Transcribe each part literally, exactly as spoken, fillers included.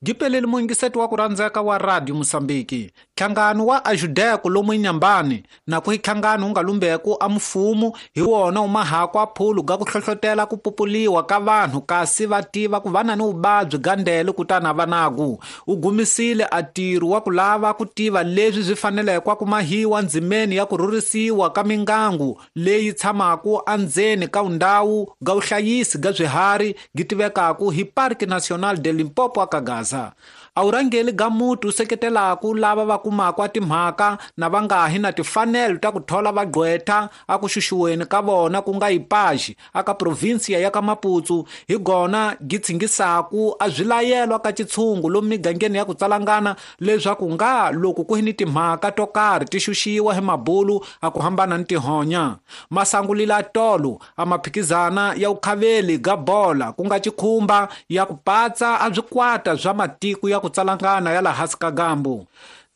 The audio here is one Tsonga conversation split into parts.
Gipeleli muyingiseti wa ku rhandzeka wa Radio Mosambiki. Nhlangano wa Ajudeko lomu Inhambane na ku nhlangano wu nga lumbeku a mfumo hi wona wu mahako a phulu ga ku hlohlotela ku pupuliwa ka vanhu kasi va tiva ku va na ni vuvabyi ga ndele kutani a va naku. U gumisile a ntirho wa ku lava ku tiva leswi swi faneleke ku mahiwa ndzimeni ya ku rhurhisiwa ka mingangu leyi tshamaka endzeni ka ndhawu ga vuhlayisi ga swiharhi gi tivekaku hi Parque Nacional de Limpopo aka Gaza. A vurhangeri ga muti wu seketelaku lava va kumaka a timhaka na va nga hi na timfanelo ta ku thola vagqwetha a ku xuxiweni ka vona ku nga Ipaxi aka provinsiya ya ka Maputo hi gona gi tshingisaku a swilayelwa ka xitshungu lomu migangeni ya ku tsalangana leswaku nga loko ku hi ni timhaka to karhi ti xuxiwa hi mabulu a ku hambana ni tihonya. Masangulila tolo a maphikizana ya vukhaveli ga bola ku nga xikhumba ya ku patsa a swikwata swa matiko ya ku tsalangana ya laha hansi ka gambu.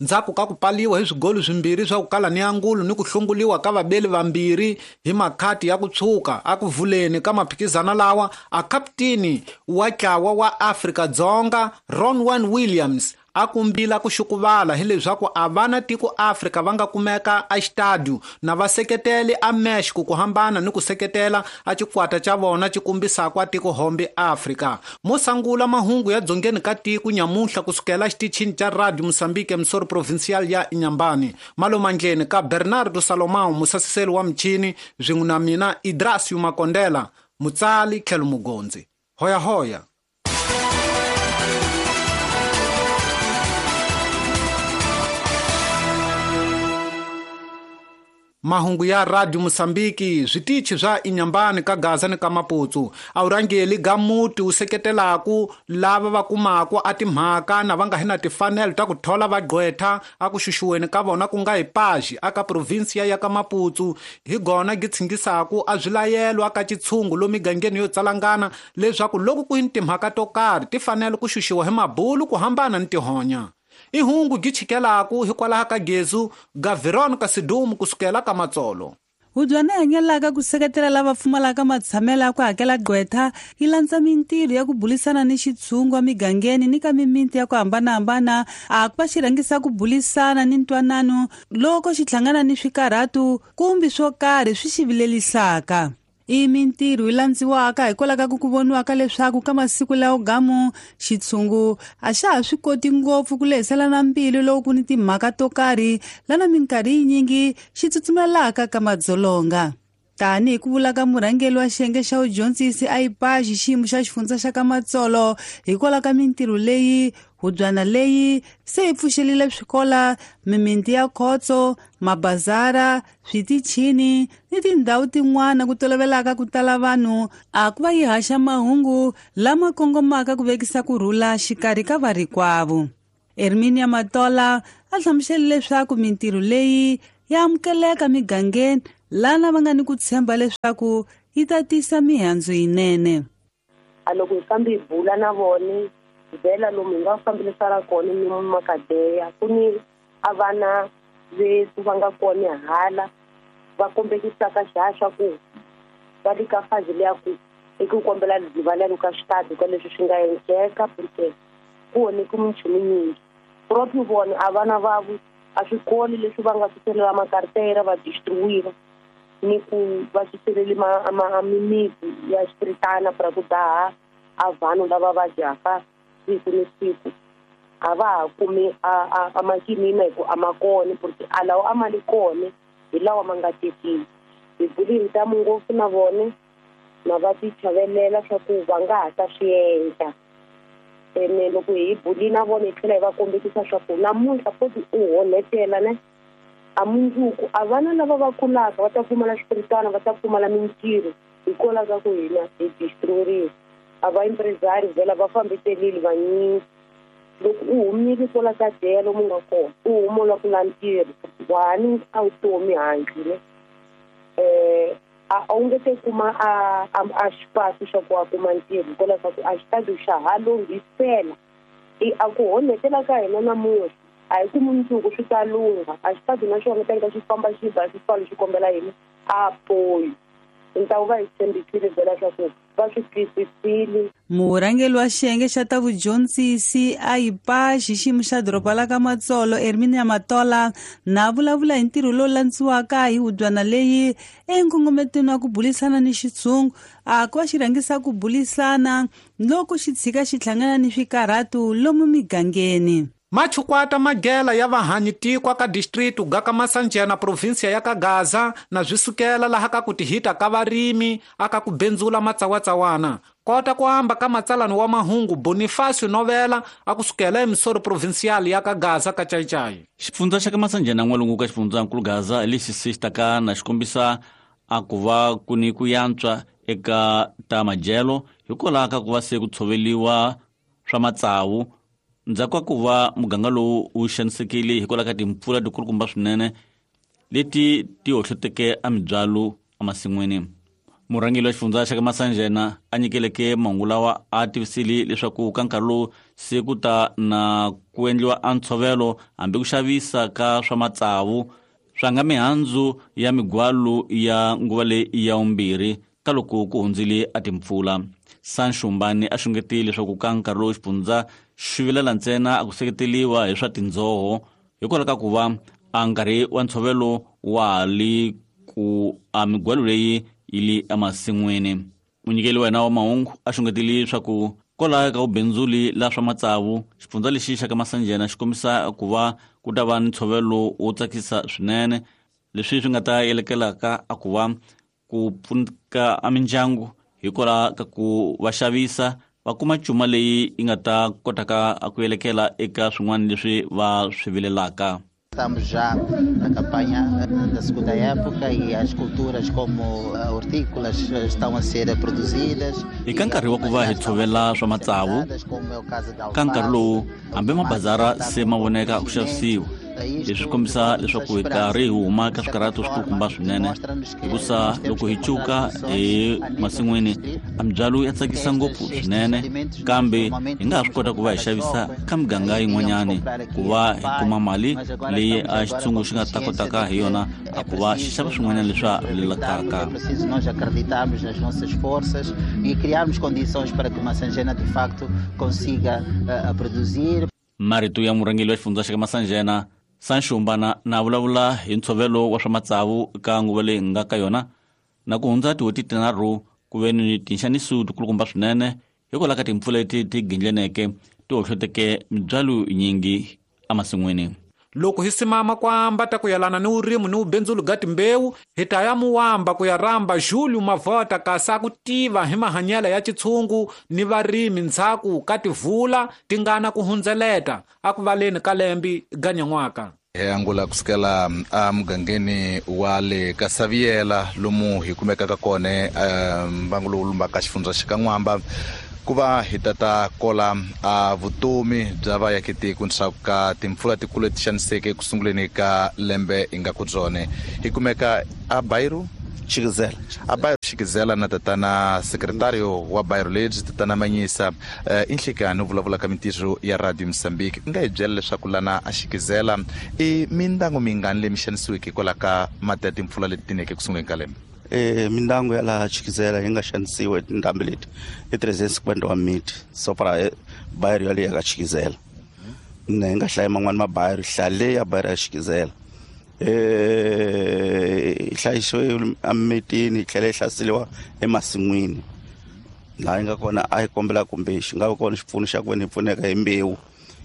Ndzhaku ka ku paliwa hi swigolo swimbirhi swa ku kala ni angulu ni ku hlunguliwa ka vabeli vambirhi hi makhati ya ku tshuka a ku vuleni ka maphikizana lawa a kaputeni wa ntlawa wa Afrika-Dzonga Ronwen Williams a kumbila ku xukuvala hileswaku a va na tiko Afrika va nga kumeka a xitadiyo na va seketeli a Mexico ku hambana ni ku seketela a xikwata xa vona xi kombisaka a tiko hombe Afrika. Mo sangula mahungu ya dzongeni ka tiko nyamuhla kusukela xitichini xa Radio Mosambiki emisoro provincial ya Inhambane. Malomandleni ka Bernardo Salomão musasiseli wa michini swin'we na mina Idrasio Makondela mutsali tlhelo mugondzi. Hoya hoya. Mahungu ya Radio Mosambiki switichi swa Inhambane ka Gaza ni ka Maputo a vurhangeri ga muti wu seketelaku lava va kumaka a timhaka na va nga hi na timfanelo ta ku thola vagqwetha a ku xuxiweni ka vona ku nga Ipaxi aka provinsiya ya ka Maputo hi gona gi tshingisaku a swilayelwa ka xitshungu lomu migangeni yo tsalangana leswaku loko ku hi ni timhaka to karhi ti fanele ku xuxiwa hi mabulu ku hambana ni tihonya. I hungu gi chikelaku hikwalaho ka gezu ga Veronica Sidumu kusukela ka Matsolo. Hubyana hanyelaka ku seketela lava pfumalaka matshamelo ya ku hakela gqwetha yi landza mintirho ya ku bulisana ni xitshungu emigangeni ni ka mimiti ya ku hambanahambana a ku va xi rhangisa ku bulisana ni ntwanano loko xi hlangana ni swikarhatu kumbe swo karhi swi xi vilelisaka. I mintirho yi landziwaka hikwalaho ka ku ku voniwaka leswaku ka masiku lawo gamu xitshungu a xa ha swi koti ngopfu ku lehiselana mbilu loko ku ni timhaka to karhi lana minkarhi yinyingi xi tsutsumelaka ka madzolonga. Tanihi ku vula ka murhangeri wa xiyenge xa vudyondzisi a Ipaxi xiyimo xa xifundza xa ka Matsolo hikwalaho ka mintirho leyi hubyana leyi se yi pfuxelile swikola, mimiti ya khotso, mabazara, switichini ni tindhawu tin'wana ku tolovelaka ku tala vanhu a ku va yi haxa mahungu lama kongomaka ku vekisa ku rhula xikarhi ka varikwavo. Herminia Matola a hlamusele leswaku mintirho leyi ya amukeleka migangeni lana va nga ni ku tshemba leswaku yi ta tisa mihandzu yinene. A loko hi fambi hi bula na vona vhela lomu hi nga fambilisana kona ni makadeya ku ni a vana vethu va nga kona hala va kombekisaka xihaxa ku va le ka fazi leya ku i ku kombela rivalelo ka xitadi ka leswi swi nga endleka porque ku onheke minchumu nyingi proprio vona a vana vavo a swikolo leswi va nga suselela makartera va distribuiwa ni ku va suseleli mimiti ya xipiritana pra ku daha a vanhu lava vadyaka siku ni siku a va ha kumi a makinina hi ku a ma kona porque a lawa a ma li kona hi lawa ma nga tekiwi. Hi buli hi ntamu ngopfu na vona na va ti chavelela swa ku va nga ha ta swi endla ene loko hi buli na vona hi tlhela hi va kombekisa swa ku namuntlha foti u honetela ne a mundzuku a vana lava va kulaka va ta pfumala xipiritana va ta pfumala mintirho hikwalaho ka ku hina hi destroyeriwa. A va empresário vhela va fambiselile vanyingi loko u humile kwala ka deya lomu nga kona u huma u lava ku la ntirho wani a vutomi handle um a wu nge te kuma a a xipasi xa ku a kuma ntirho hikwalaho ka ku a xitadi xa ha lunghisela i a ku honetela ka hina namuntlha a hi ku mundzuku swi ta lungha a xitadi na xona teka xi famba xi ba xi pfala xi kombela yini a poyi ntawu va hi tshembisile vhela swa ku va swi twisisile. Murhangeri wa xiyenge xa ta vudyondzisi a I P A xiximo xa doroba la ka Matsolo Erminia Matola na vulavula hi ntirho lowu landziwaka hi hubyana leyi enkongometweni wa ku bulisana ni xitshungu a ku va xi rhangisa ku bulisana loko xi tshika xi hlangana ni swikarhatu lomu migangeni. Machukwata magela ya vahanyi tikwa ka distritu ga ka Masanjena, provinsia ya ka Gaza, na swi sukela laha ka ku tihita ka varimi aka ku benzula matsawatsawana kota ku amba ka matsalani wa mahungu Bonifacio Novela a ku sukela emisoro provincial ya ka Gaza ka Chaichai. Xifundza xa ka Masanjena n'walungu ka xifundzankulu Gaza lexi se xi taka na xi kombisa a ku va ku ni ku yantswa eka ta madyelo hikwalaho ka ku va se ku tshoveliwa swa matsavu ndzhaku ka ku va muganga lowu wu xanisekile hikwalaho ka timpfula tikulukumba swinene leti ti hohloteke a mibyalo emasin'wini. Murhangeri wa xifundza xa ka Masanjena a nyikeleke mahungu lawa a tivisile leswaku ka nkarhi lowu se ku ta na ku endliwa a ntshovelo hambi ku xavisa ka swa matsavu swa nga mihandzu ya migwalo ya nguva leyi ya vumbirhi ka loko ku hundzile a timpfula. Sanxumbani a xungetile leswaku ka nkarhi lowu xifundza xi vilela ntsena a ku seketeriwa hi swa tindzoho hikwalaho ka ku va a nkarhi wa ntshovelo wa ha li ku a migwalo leyi yi li emasin'wini. Munyikeli wa hina wa mahungu a xungetile leswaku kwalaho ka vubindzuli la swa matsavu xifundza lexi xa ka Masanjena xi kombisa ku va ku ta va ni ntshovelo wo tsakisa swinene leswi swi nga ta yelekelaka a ku va ku pfuneka a mindyangu hikwalaho ka ku va xavisa va kuma cuma leyi yi nga ta kotaka ku yelekela eka swin'wana leswi va swi vilelaka. Estamos já na campanha da segunda época e as culturas como hortícolas estão a ser produzidas. Eka nkarhi wa ku va hi tshovela swa matsavu ka nkarhi lowu hambi mabazara se ma voneka ku xavisiwa leswi swi kombisa leswaku hi karhi hi huma ka swikarhato swikulukumba swinene hikusa loko hi cuka hi masin'wini a mibyalo ya tsakisa ngopfu swinene kambe hi nga ha swi kota ku va hi xavisa ka miganga yin'wanyani ku va hi kuma mali leyi a xitshungu xi nga ta kotaka hi yona a ku va xi xava swin'wanyana leswi a vilelakaka. É preciso nós acreditarmos nas nossas forças e criarmos condições para que Masanjena de facto consiga uh, produzir. Marito ya murhangeri wa xifundza xa ka Masanjena Sanxumbana na vulavula hi ntshovelo wa swa matsavu ka nguva leyi nga ka yona na ku hundza tin'hweti tinharhu ku ve ni tinxaniso tikulukumba swinene hikwalaho ka timpfula leti ti gindleneke ti hohloteke mibyalo yinyingi emasin'wini. Loko hi simama ku amba ta ku yelana ni vurimi ni vubindzulu ga timbewu hi ta ya muwamba ku ya rhamba Julio Mavota kasi a ku tiva hi mahanyelo ya xitshungu ni varimi ndzhaku ka tivula ti nga na ku hundzeleta a ku valeni ka lembi ga nyan'waka. Hi angula kusukela emugangeni wa le ka Saviela lomu hi kumekaka kona mbangu lowu lumbaka xifundza xa ka N'wamba ku va hi tata kola a vutomi bya vaakatiko ndzhaku ka timpfula tikulu leti xaniseke ku sunguleni ka lembe hi nga ku byone. Hi kumeka a Bairro Xikizela, a Bairro Xikizela na tatana sekretario wa Bairro lebyi tatana Manyisa. I nhlikani u vulavula ka mintirho ya Radio Mozambique u nga hi byela leswaku lana a Xikizela i mindyangu mingani leyi mi xanisiweke hikwalaho ka mati ya timpfula leti tineke ku sunguleni ka lembe? Eh mindyangu ya laha Xikizela yi nga xanisiwa hi tindhambi leti i trezentos cinquenta wa miti so para bairro yaleyo ya ka Xikizela ne hi nga hlayi man'wani mabairro hlaya leyi ya bairro ya Xikizela eh yi hlayisiwe emimitini yi tlhela yi hlaseriwa emasin'wini laha yi nga kona a yi kombela kumbe xi nga va kona xipfuno xa ku veni hi pfuneka hi mbewu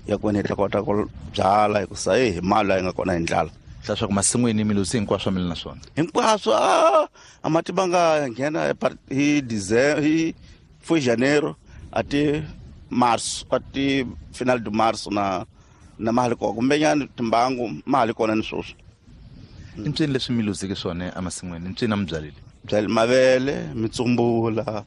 ya ku veni hi ta kota ku byala hikusa hi mali laha yi nga kona hi ndlala. Leswaku masin'wini mi luzi hinkwaswo mi le na swona hinkwaswo a a mati ma nga nghena hi December hi foi janeiro ati março ati final de março na na mali kona kumbenyana timbangu mali kona ni sweswi. I mpsini leswi mi luzeke swona emasin'wini mpsini a mi byalile? Byale mavele mitsumbula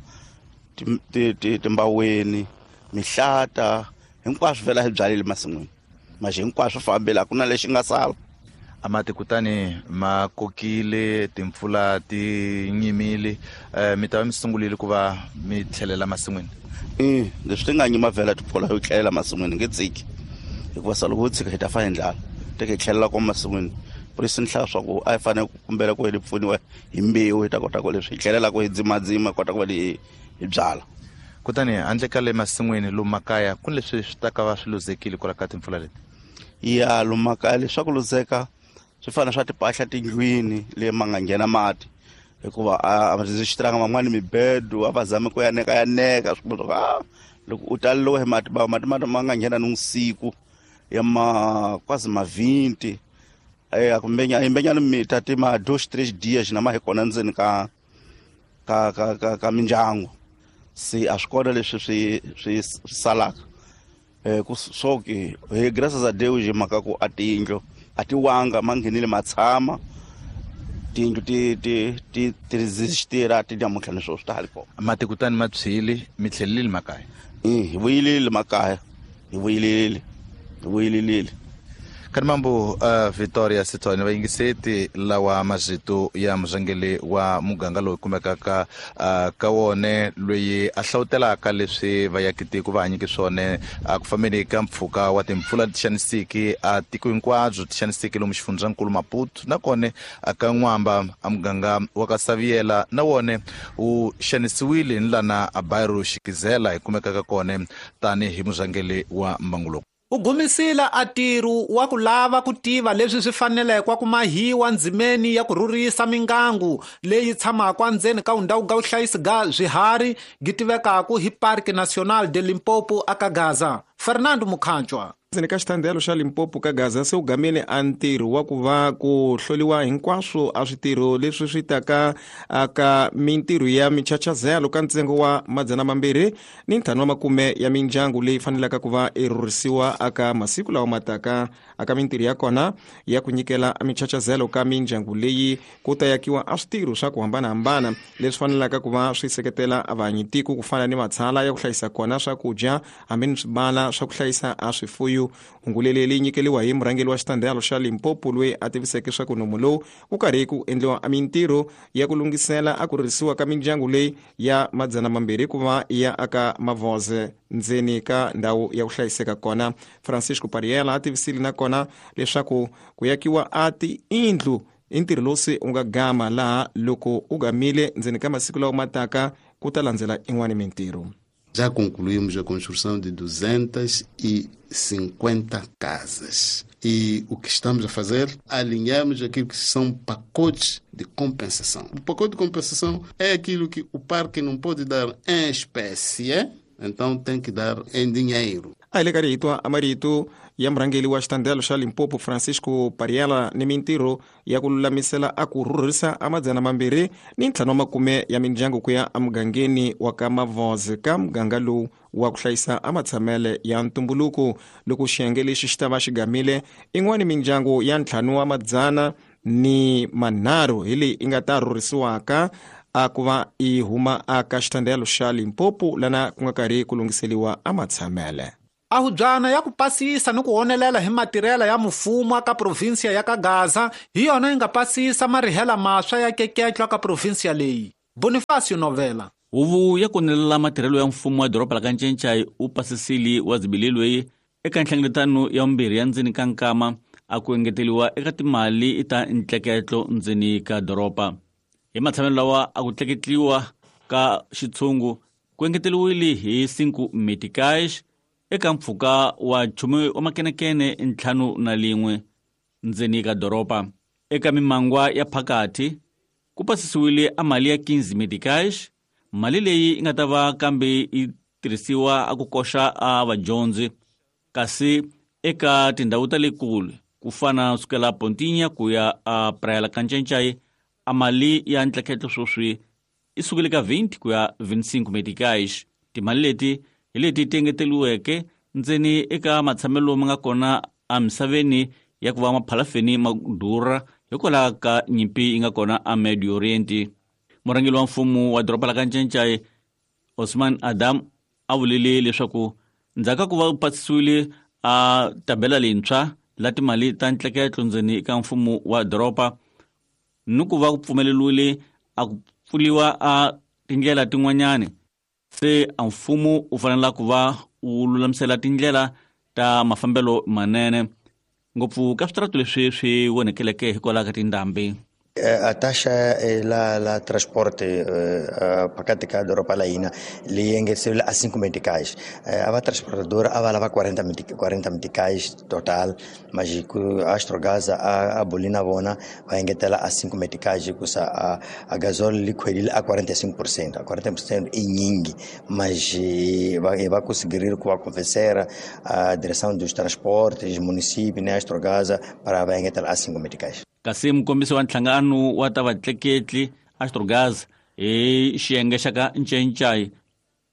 timbaweni mihlata hinkwaswo vhela hi byalile masin'wini maxi hinkwaswo fambela a ku na lexi nga sala. A mati kutani ma kokile timpfula ti nyimile mi ta va mi sungulile ku va mi tlhelela masin'wini? I leswi ti nga nyima vhela timpfula yo tlhelela masin'wini nge tsiki hikuva sa loko wo tshika hi ta fa hi ndlala teke hi tlhelela ko masin'wini por isso ni hlaya swa ku a hi fanele ku kumbela ku hi pfuniwa hi mbewu hi ta kota ku leswi hi tlhelelaka hi dzimadzima kota ku va hi hi byala. Kutani handle ka le masin'wini lomu makaya ku ni leswi swi ta ka va swi luzekile kwala ka timpfula leti? Ya lomu makaya leswaku luzeka swi fana swa timpahla tindlwini le ma nga nghena mati, hikuva a va xitiranga van'wani mibedo a va zame ku yaneka yaneka swi kuma a loko u taleliwe hi mati ba mati mati ma nga nghena ni usiku ya ma quase ma vinte eh akumbe imbenyana mita ti ma dois três dias na ma hi kona ndzeni ka ka ka ka, ka mindyangu se a swi kona leswi swi swi salaka eh ku soke eh graças a Deus mhaka ku a tindlu a ti wanga ma nghenile matshama tindlu ti ti ti ti resistira ti namuntlha ni sweswi ta ha ri kona. Mati kutani ma tshwile mi tlhelelile makaya? Eh hi vuyelile makaya, hi vuyelile hi vuyelile. Kanimambo uh, Victoria Sithole vayingiseti lawa mazito ya muzangeli wa muganga lowu kumekaka uh, ka wone loyi a hlawutelaka leswi vayakitiko va hanyike swone uh, ku fambeni ka mpfhuka wa timpfula ti xanisiki a tiko hinkwabyo ti xanisiki lomu xifundzankulu Maputo nakone ka N'wamba a muganga wa ka Saviela na wone wu xanisiwile ni lana a Bairro Xikizela hi kumekaka kone tanihi muzangeli wa mbangu lowu. U gumisile a ntirho wa ku lava ku tiva leswi swi faneleke ku mahiwa ndzimeni ya ku rhurhisa mingangu leyi tshamaka ndzeni ka ndhawu ga vuhlayisi ga swiharhi gi tivekaka hi Parque Nacional de Limpopo aka Gaza. Fernando Mukhanjwa. Ndzeni ka xitandelo xa Limpopo ka Gaza se u gamile a ntirho wa ku va ku hloliwa hinkwaswo a switirho leswi swi taka aka mintirho ya michachazelo ka ntsengo wa madzana mambirhi ni ntlhanu wa makume ya mindyangu leyi fanelaka ku va i rhurhisiwa aka masiku lawa mataka aka mintirho ya kona ya ku nyikela michachazelo ka mindyangu leyi ku ta yakiwa a switirho swa ku hambanahambana leswi fanelaka ku va swi seketela vahanyitiko ku fana ni matshala ya ku hlayisa kona swakudya hambi ni swibala swa ku hlayisa a swifuyo. Hungu leyi nyikeliwa hi murhangeri wa xitandelo xa Limpopo loyi a tiviseke swa ku nomu lowu ku karhi ku endliwa mintirho ya ku lunghisela a ku rhurhisiwa ka mindyangu leyi ya madzana mambirhi ku va ya aka Mavoze ndzeni ka ndhawu ya ku hlayiseka kona. Francisco Pariela a tivisile nakona leswaku ku yakiwa a tiyindlu i ntirho lowu se u nga gama laha loko u gamile ndzeni ka masiku lawa mataka ku ta landzela in'wani mintirho. Já concluímos a construção de duzentas e cinquenta casas. E o que estamos a fazer? Alinhamos aquilo que são pacotes de compensação. O pacote de compensação é aquilo que o parque não pode dar em espécie, então tem que dar em dinheiro. A ele karito amarito ya murhangeri wa xitandelo xa Limpopo Francisco Pariela ni mintirho ya ku lulamisela a ku rhurhisa a madzana mambirhi ni ntlhanu wa makume ya mindyangu ku ya emugangeni wa ka Mavoze ka muganga lowu wa ku hlayisa a matshamele ya ntumbuluko. Loko xiyenge lexi xi ta va xi gamile in'wani mindyangu ya ntlhanu wa madzana ni manharhu hi leyi i nga ta rhurhisiwaka a ku va i huma aka xitandelo xa Limpopo lana ku nga karhi ku lunghiseliwa a matshamele. Ahubyana ya ku pasisa ni ku honelela hi matirhela ya mfumo ka provinsia ya ka Gaza hi yona yi nga pasisa marihela maswa ya keketlo ka provinsia leyi. Bonifacio Novela. Huvo ya konelela matirhelo ya mfumo wa doroba la ka Ncencai u pasisile wa zibilelwe eka nhlengeletano ya vumbirhi ya ndzeni ka nkama a ku engeteliwa eka timali ta ntleketlo ndzeni ka doroba. Hi matshamelo lawa a ku tleketliwa ka xitshungu ku engeteliwile hi cinco meticais eka mpfhuka wa nchumu wa makenekene ntlhanu na lin'we ndzeni ka doroba. Eka mimangwa ya phakathi ku pasisiwile a mali ya quinze meticais, mali leyi yi nga ta va kambe yi tirhisiwa a ku koxa a vadyondzi, kasi eka tindhawu ta le kule ku fana sukela Pontinha ku ya a Praia la Kancencai a mali ya ntleketlo sweswi yi sukile ka vinte ku ya vinte e cinco meticais. Timali leti hi leti ti engeteliweke ndzeni eka matshamelo ma nga kona emisaveni ya ku va maphalafeni ma durha hikwalaho ka nyimpi yi nga kona a Medio Oriente. Murhangeri wa mfumo wa doroba la ka Ncencai Osman Adam a vulile leswaku ndzhaku ka ku va u pasisiwile a tabela leyintshwa la timali ta ntleketlo ndzeni ka mfumo wa doroba ni ku va ku pfumeleriwile a ku pfuliwa a tindlela tin'wanyani, se a mfumo u fanele ku va u lulamisela tindlela ta mafambelo manene ngopfu ka switaratu leswi swi vonekeleke hikwalaho ka tindhambi. A taxa la la transporte phakathi ka doroba la hina leyi engeteriwile a cinco meticais. A va transportadora a va lava quarenta quarenta meticais total, mas a Astrogás a a boli na vona va engetela a cinco meticais hikusa a a gasóleo li khwelile a quarenta e cinco por cento. A quarenta por cento i nyingi, mas va va conseguir ku va convencer a direção dos transportes, município, né, Astrogás para va engetela a cinco meticais. Kasi mukombisi wa nhlangano wa ta vatleketli Astrogás hi xiyenge xa ka Ncencai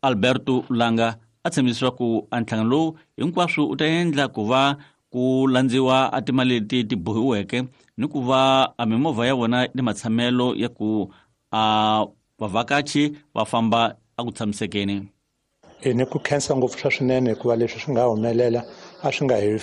Alberto Langa a tshembisa ku a nhlangano lowu hinkwaswo u ta endla ku va ku landziwa a timali leti ti bohiweke ni ku va a mimovha ya vona ni matshamelo ya ku a vavhakachi va famba a ku tshamisekeni. E ni ku khensa ngopfu swa swinene hikuva leswi swi nga humelela a swi nga hi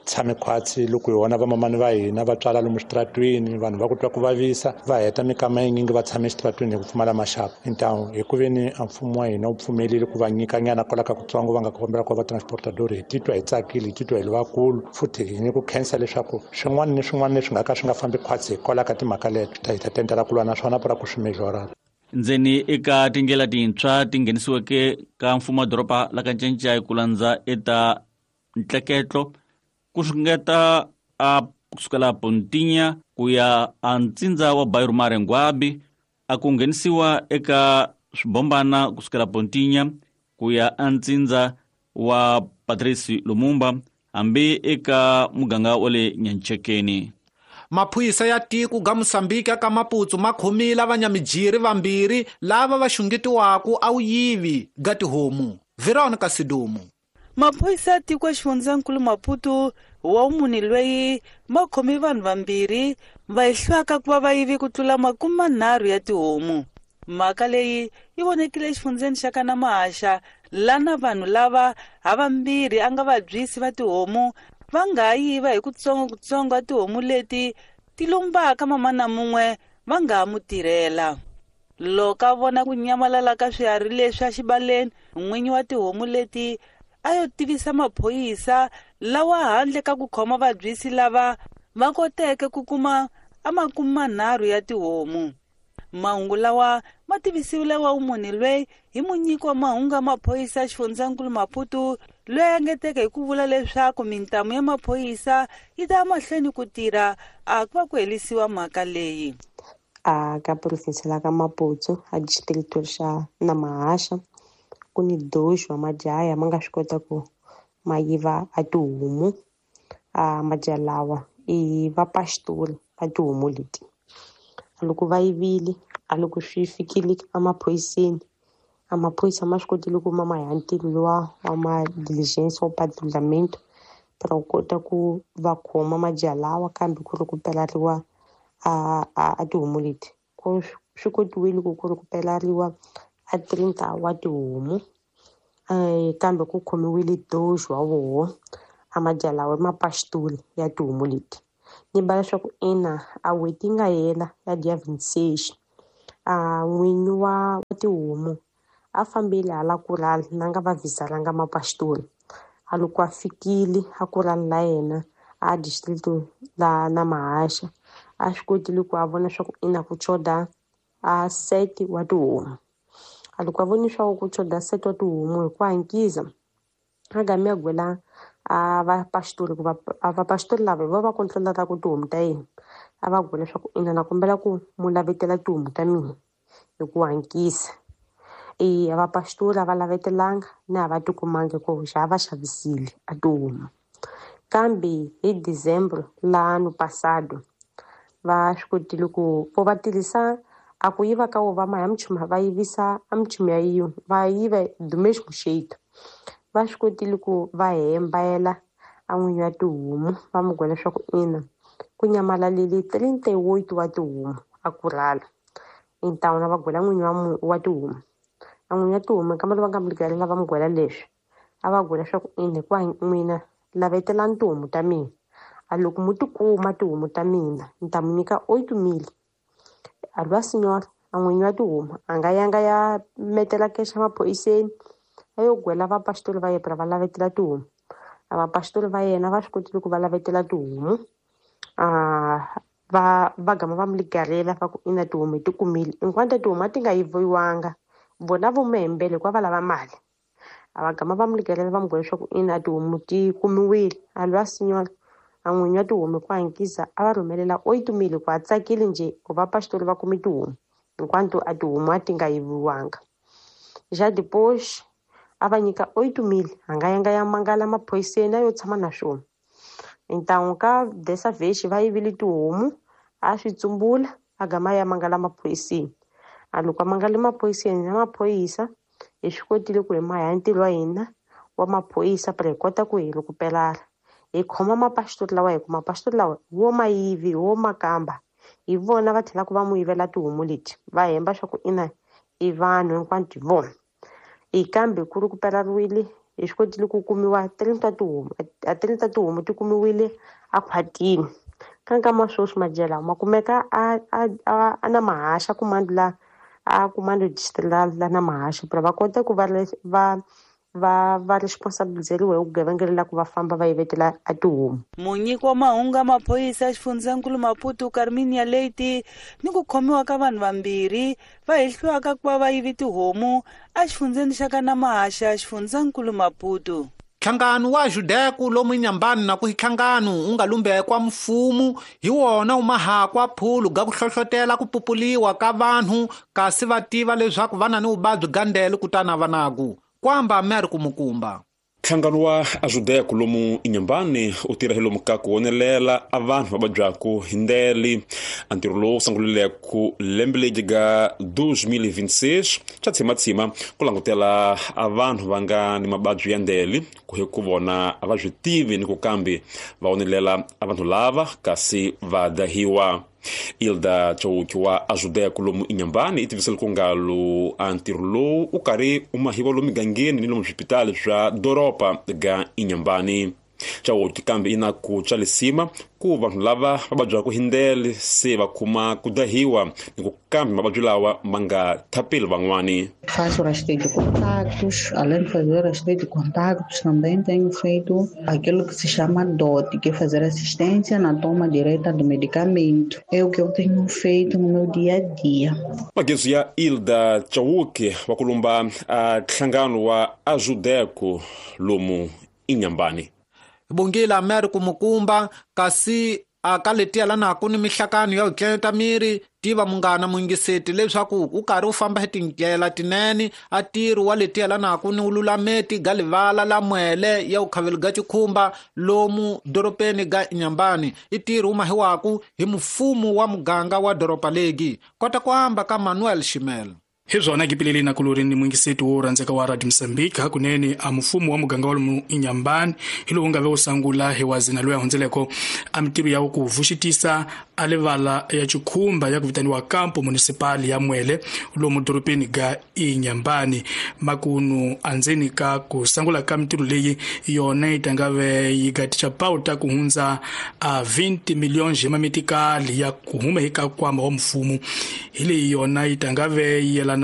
tshame khwatsi loko hi vona vamamani va hina va tswala lomu xitaratwini, vanhu va ku twa ku vavisa va heta mikama yinyingi va tshame exitaratwini hi ku pfumala maxaka. Intawu hi ku veni a mfumo wa hina wu pfumelile ku va nyika nyana kwala ka kutsongo va nga kombela ku va transportador, hi titwa hi tsakile, hi titwa hi ri vakulu futhi hi ni ku khensa leswaku swin'wana ni swin'wana leswi nga ka swi nga fambi khwatsi hikwalaho ka timhaka leto hi ta tendela ku lwa na swona pura ku swi mejora. Ndzeni eka tindlela tintshwa ti nghenisiweke ka mfumo wa doroba la ka Ncencai ku landza eta ntleketlo ku xungeta a kusukela Pontinya ku ya a ntsindza wa Bairro Marengwabi, a ku nghenisiwa eka swibombana kusukela Pontinya ku ya a ntsindza wa Patrice Lumumba hambi eka muganga wa le Nyanchekeni. Maphorisa ya tiko ga Mosambiki ka Maputo ma khomile vanyamijiri vambirhi lava va xungetiwaka a wuyivi ga tihomu. Veronica Sidumo. Maphorisa ya tiko xifundzankulu Maputo wa munhu loyi ma khome vanhu vambirhi va ehlwaka ku va va yivi ku tlula makume manharhu ya tihomu. Mhaka leyi yi vonekile exifundzeni xa ka Namahaxa lana vanhu lava havambirhi a nga vabyisi va tihomu va nga yiva hi kutsongokutsongo a tihomu leti ti lombaka mamana mun'we va nga ha mu tirhela. Loko a vona ku nyamalala ka swiharhi leswi exibaleni, n'winyi wa tihomu leti a yo tivisa maphorisa lawa handle ka ku khoma vabyisi lava va koteke ku kuma a makume manharhu ya tihomu. Mahungu lawa ma tivisiwile wa munhu loyi hi munyiki wa mahungu ya maphorisa xifundzankulu Maputo loyi a engeteke hi ku vula leswaku mintamu ya maphorisa yi ta mahlweni ku tirha a ku va ku herisiwa mhaka leyi. A ka provinsi la ka Maputo a distrito xa Namahaxa ku ni dois wa majaha ma nga swi kota ku ma yiva a tihomu. A majaha lawa i vapastori va tihomu leti. Loko va yivile a loko swi fikile emaphoriseni, a maphorisa ma swi kotile ku ma ma ya ntirho luwa wa ma diligence wa patrulhamento para ku kota ku va khoma majaha lawa, kambe ku ri ku pelariwa a a tihomu leti. Ku swi kotiwile ku ku ri ku pelariwa a trinta wa tihomu, kambe ku khomiwile dois wa voho a majaha lawa i mapastori ya tihomu leti. Ni ba leswaku ina a n'hweti yi nga hela ya dia vinte e seis a n'winyi wa tihomu a fambile hala kurala na nga va vhisalanga mapastori. A loko a fikile a kurala la yena a distrito la Namahaxa a swi kotile ku a vona swa ku ina ku choda a sete wa tihomu. A loko a voni swa ku choda sete wa tihomu hi ku hankisa a game a gwela a vapastori ku va a vapastori lava hi vo va controlaka ku tihomu ta yena, a va gwela leswaku ina na kombela ku mu lavetela tihomu ta mina hi ku hankisa. E vapastori a va lavetelanga na a va tikumangi ku xa va xavisile a tihomu. Kambe hi December la ano passado va swi kotile ku vo va tirhisa a ku yiva ka wo va ma ya mchuma va yivisa a mchuma ya yin'we va yiva do mesmo jeito. Va swi kotile ku va hembayela a n'winyi wa tihomu va mu gwela leswaku ina ku nyamalalile trinta e oito wa tihomu a kurala. Então na va gwela n'winyi wa wa tihomu. A n'winyi wa tihomu kambe va nga mu va mu gwela leswi a va gwela leswaku ina hikuva n'wina lavetelani tihomu ta mina, a loko mu tikuma tihomu ta mina ni ta mu nyika oito mil. A lwa senhora a n'winyi wa tihomu a nga yanga ya metela kexa maphoriseni a yo gwela vapastori va yena va lavetela tihomu. A vapastori va yena va swi kotile ku va lavetela tihomu a Va va gama va mi ligarela va ku ina tihomu hi ti kumile, hinkwato tihomu a ti nga yiviwanga, vona vo mihembele hikuva va lava mali. A va gama va mi ligarela va mi byela leswaku ina tihomu ti kumiwile. A lwa senhora a n'winyi wa tihomu hi ku hatlisa a va rhumelela oito mil hikuva a tsakile njhe ku va pastor va kume tihomu, hinkwato a tihomu a ti nga yiviwanga. Já depois a va nyika oito mil, a nga yanga ya mangala maphoyiseni a yo tshama na swona. Então ka dessa vez va yivile tihomu, a swi tsumbula a gama ya mangala maphoyiseni. A loko a mangale maphoyiseni na maphorisa hi swi kotile ku hi maha ntirho wa hina wa maphorisa para hi kota ku hi recuperar. Hi khoma mapasitori lawa hi ku mapasitori lawa wo ma yivi wo makamba, hi vona va tlhelaka va mu yivela tihomu leti, va hemba swa ku ina i vanhu hinkwato hi vona. Hi kambe ku recuperariwile, hi swi kotile ku kumiwa trinta tihomu, a trinta tihomu ti kumiwile a khwatini. Ka nkama sweswi madyela ma kumeka a a a na mahaxa kumando la a kumando district la la na mahaxa para va kota ku va va va va responsabilizeriwa hi vugevenga la ku va famba va yivetela a tihomu. Munyiki wa mahungu ya maphorisa xifundzankulu Maputo Carminia Leite ni ku khomiwa ka vanhu vambirhi va hehliwaka ku va va yivi tihomu exifundzeni xa ka Namahaxa xifundzankulu Maputo. Nhlangano wa Judeku lomu Inhambane na ku nhlangano wu nga lumbekwa mfumo hi wona wu mahakwa phulu ga ku hlohlotela ku pupuliwa ka vanhu kasi va tiva leswaku va na ni vuvabyi bya ndele kutana va naku kwamba meri kumukumba. Nhlangano wa Ajudeku lomu Inhambane u tirha hi lomu ka ku wonelela a vanhu va vabyaku hi ndele. A ntirho lowu sungulileke lembe leri ga dois mil e vinte e seis xa tshimatsima ku langutela a vanhu va nga ni mavabyi ya ndele ku hi ku vona a va swi tivi ni ku kambe va wonelela a vanhu lava kasi va dahiwa. Ilda Chauki wa Ajudeku lomu Inhambane i tivisele ku ngalo a ntirho lowu u karhi u mahiwa lomu migangeni ni lomu swipitali swa doroba ga Inhambane. Chauki kambe i na ku tswalisima ku vanhu lava va vabyaka hi ndele se va kuma ku dahiwa ni ku kambe mavabyi lawa ma nga thapeli van'wani. Faço rastreio de contactos, além de fazer rastreio de contactos, também tenho feito aquilo que se chama D O T, que é fazer assistência na toma direta do medicamento. É o que eu tenho feito no meu dia a dia. Magezu ya Ilda Chauki wa kulumba a nhlangano wa Ajudeku lomu Inhambane. Bongila meri kumukumba kasi akaletia lana ku ni mihlakano ya ku miri tiva munghana mungiseti leswaku u karhi u famba hi tindlela tinene a tirhi wa letiya lana ku ni ululameti ga livala la mwele ya ukhaveli ga chikhumba lomu doropeni ga Inhambane i tirhi wu mahiwaku hi mfumo wa muganga wa doropa legi kota ku amba ka Manuel Shimel. Hi swona kipileli na kulori ni mwingiseti wo rhandzeka wa Radio Mozambique hakunene a mfumo wa muganga wa lomu Inhambane hi lowu nga ve wu sungula hi wazina loyi a hundzeleko a mitirho ya ku vuxitisa a livala ya chikhumba ya ku vitaniwa Campo Municipal ya Mwele lomu doropeni ga Inhambane. Makunu andzeni ka ku sungula ka mitirho leyi yona yi ta nga ve yi gaticha pauta ku hundza a vinte milhões ya mamitikali ya ku huma eka nkwama wa mfumo hi leyi yona yi ta nga ve yi yelana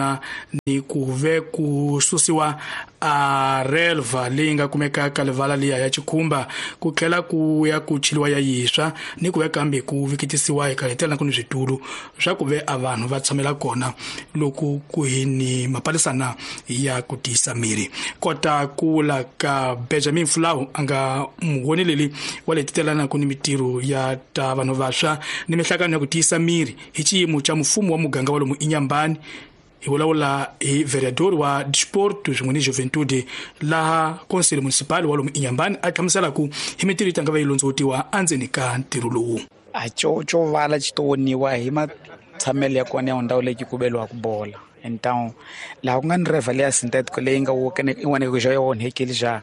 ni ku ve ku susiwa a relva leyi nga kumeka ka livala liya ya chikhumba ku tlhela ku ya ku chiliwa ya yiswa ni ku ve kambe ku vikitisiwa hi kahetela ku ni switulu swa ku ve a vanhu va tshamela kona loko ku hi ni mapalisana ya ku tiyisa miri. Kota ku la ka Benjamin Flau a nga muwoneleli wa letitelana ku ni mitirho ya ta vanhu vantshwa ni mihlakano ya ku tiyisa miri hi xiyimo xa mfumo wa muganga wa lomu Inhambane. Hi vulavula hi vereador wa Desporto swin'we ni Juventude laha Conselho Municipal wa lomu Inhambane a hlamusela ku hi mitirho yi ta nga va yi londzovutiwa endzeni ka ntirho lowu. A xo xo vala xi to woniwa hi matshamelo ya kona ya ndhawu leyi ku beliwaka bola. Então laha ku nga ni reva leya synthetic leyi nga in'wana xa yi onhekile xa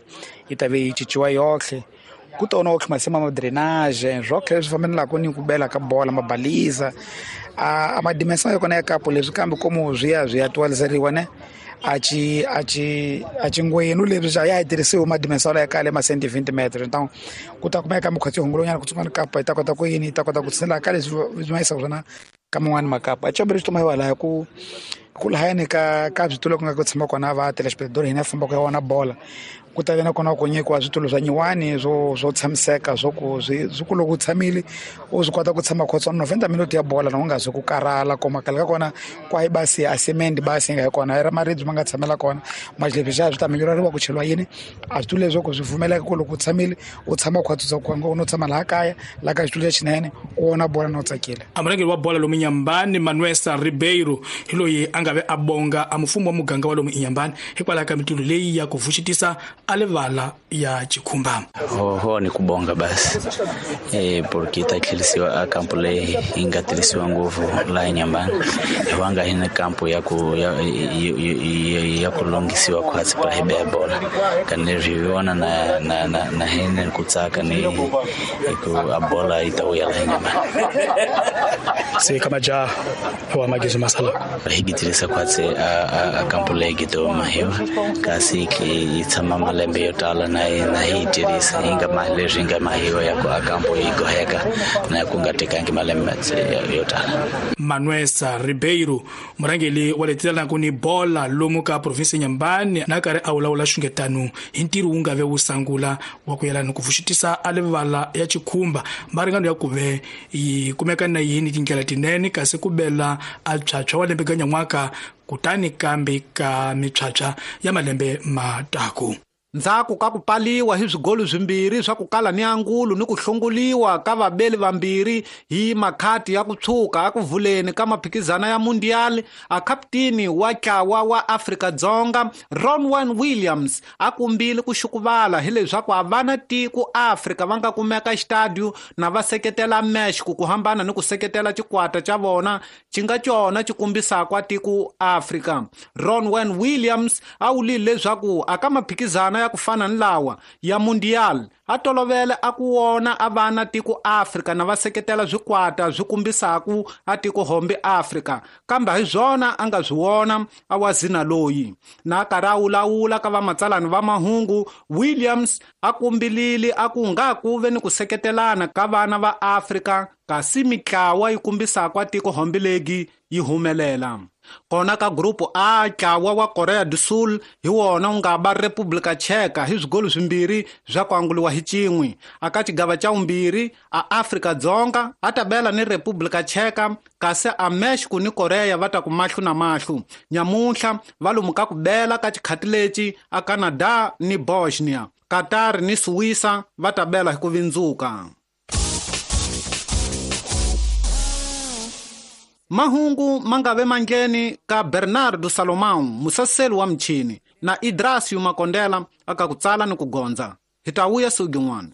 yi ta ve yi cinciwa yohle ku tona otlhe masima ma drainage swotlhe leswi fambelaka ni ku bela ka bola mabaliza a a madimensão ya kona ya kapo leswi kambe como swi ya swi ya atualizeriwa ne a ci a ci a ci ngwenu leswi xa ya tirhisiwa madimensão ya kale ma cento e vinte metros. Então ku ta kumeka mukhatsi hungulonyana ku tsungana kapa yi ta kota ku yini yi ta kota ku tsela ka leswi swi ma yisa swona ka man'wani makapa a chambere xi toma hiwa laha ku Ku lahayani ka ka switulu ku nga ku tshama kona va telespectator hina fambaka ya wona bola ku ta vena kona ku nyikiwa switulu swa nyiwani swo swo tshamiseka swo ku swi swi ku loko u tshamile u swi kota ku tshama khotswa noventa minute ya bola na u nga zi ku karhala koma kale ka kona kwahi basi a cement basi nga hi kona i ra maribye ma nga tshamela kona majlebi xa swi ta minyureriwa ku cheliwa yini a switulu leswo ku swi pfumeleka ku loko u tshamile u tshama khwatswa ku nga u no tshama laha kaya laha ka xitulu lexinene u vona bola na u tsakile. A murhangeri wa bola lomu Inhambane Manuel Ribeiro hi loyi a nga ve a bonga a mfumo wa muganga wa lomu Inhambane hikwalaho ka mitulu leyi ya ku vuxitisa a livala ya Chikhumba. Ho ni kubonga basi eh porque ta tlhelisiwa a kampo leyi yi nga tirhisiwa ngopfu laha Inhambane hiwanga hi na kampo ya ku ya ya ku longisiwa khwatsi pra hi beya bola kani ri vona na na na na hene ku tsaka ni ku a bola yi ta vuya laha Inhambane. Se kama ja wa magizo masala hi tirhisa khwatsi a a kampo leyi gidoma hiwa kasi yi tshama malembe yo tala na na hi tirhisa yi nga ma leswi nga mahiwa ya ku a kampo yi goheka na ku nga tekangi malembe yo tala. Manuel Ribeiro murhangeri wa letelaka ni bola lomu ka province Inhambane na karhi a vulavula xungetano hi ntirho wu nga ve wu sangula wa ku yelana ku vuxitisa a livala ya Chikhumba maringano ya ku ve yi kumeka na yini tindlela tinene kasi ku bela a phyaphywa wa lembe ka nyan'waka kutani kambe ka miphyaphywa ya malembe mataku. Ndzhaku ka ku paliwa hi swigolo swimbirhi swa ku kala ni angulo ni ku hlongoliwa ka vabeli vambirhi hi makhati ya ku tshuka a ku vuleni ka maphikizana ya Mundial, a kapteni wa ntlawa wa Afrika-Dzonga Ronwen Williams a kumbile ku xukuvala hileswaku a va na tiko Afrika va nga kumeka xitadio na va seketela Mexico ku hambana ni ku seketela xikwata xa vona xi nga cona xi kombisaka tiko Afrika. Ronwen Williams a vulile leswaku aka maphikizana ya ku fana ni lawa ya Mundial a tolovele a ku wona a va na tiko Afrika na va seketela swikwata swi kombisaku a tiko hombe Afrika kambe hi swona a nga swi wona a wa zina loyi na karhi a wulawula ka vamatsalani va mahungu. Williams a kumbilile a ku nga ku ve ni ku seketelana ka vana va Afrika kasi mitlawa yi kombisaka a tiko hombe legi yi humelela. Kona ka grupu A ntlawa wa Korea do Sul hi wona wu nga ba Republika Cheka hi swigolo swimbirhi swa ku anguliwa hi cin'we. Aka xigava xa vumbirhi a Afrika-Dzonga a ta bela ni Republika Cheka kasi a Mexico ni Korea va ta ku mahlo na mahlo. Nyamuntlha va lomu ka ku bela ka xikhati lexi a Canada ni Bosnia, Qatar ni Suwisa va ta bela hi ku vindzuka. Mahungu mangave mangeni ka Bernardo Salomão, musaseli wa mchini, na Idrasio Makondela aka kutsala ni kugonza. Hi ta vuya siku rin'wana.